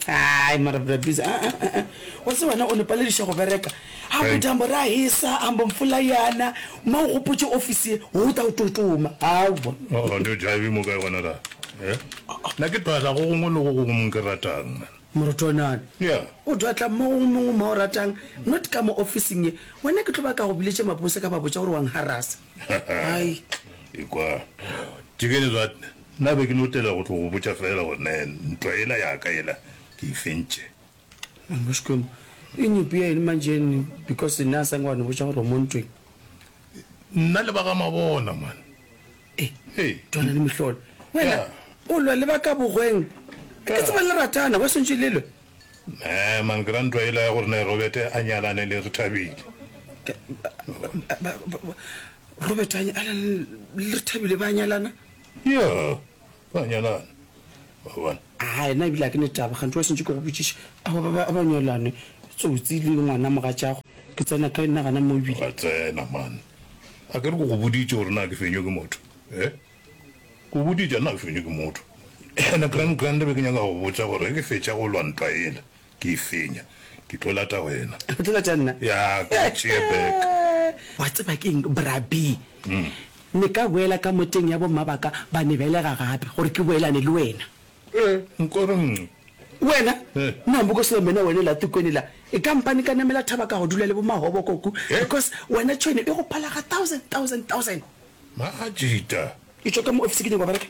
Ai mara bra busy. Ah ah ah. Wa tseba wena o ne palediša go bereka. Hambo dyambo ra hisa, hambo mpfula yana. Ma o gopotše office ye, o ta o totoma. Aowa. Oh, ne o jive mo kae gona la? Eh? Nna ke dwala go gongwe le go gongwe mo ke ratang, man. Morutonana. Yeah. O dwatla mo gongwe mongwe mo o ratang, not ka mo officing ye. Wena ke tlo ba ka go biletše mapose ka ba botša gore wa ngharasa. Ai. Ekwa. Tšikene zwa nna be ke no tela go tlo go botša fela gore ne ntwa yela ya ka yela ke e fentše. Mama Xikwembu, i nyimpi ya eng manjeni because nna a sange wa no botša gore o mo ntweng. Nna le ba ga Mabona man. E, Ee. twana le mehlolo. Wena Yeah. o lwa le ba ka bogweng. Ke Yeah. tseba le ratana, ba swantše le lwe. Nee man, ke ra ntwa yela ya gore ne Robert a nyalane le Rethabile. Ke- ba- ba- ba- ba- Robert a nyalane le Rethabile ba nyalana? Yeah, ba nyalana. Wa bona? Ai, nna ebile ga ke ne taba, kganthe wa sentše ke go botšiša. Aowa, ba, ba, ba nyalane, tsotsi le ngwana mogatšago. Ke tsena kae nna gana mo ebile? Wa tsena, man. A ke re ke go boditše gore na ke fenywe ke motho? Eh? Ke go boditše, nna ke fenywe ke motho. Ene grand grand be ke nyaka go botša gore ge ke fetša go lwa ntwa yela, ke e fenya, ke tlo lata wena. O tlo lata nna? Ya, ke go tšee back. Wa tseba ke eng, Bra B? Ne ka boela ka moteng ya bomma ba ka ba ne belega gape gore ke boelane le wena. Eh, nko reng? Wena? Eh. Nna mbo ko sela mena wena la tikweni la e kampane ka namela thaba ka go dula le bo mahobo koku Eh? because wena tšhwene e go phala ga thousand thousand thousand. Majita. E tšwa ka mo office ke nyaka go bereka.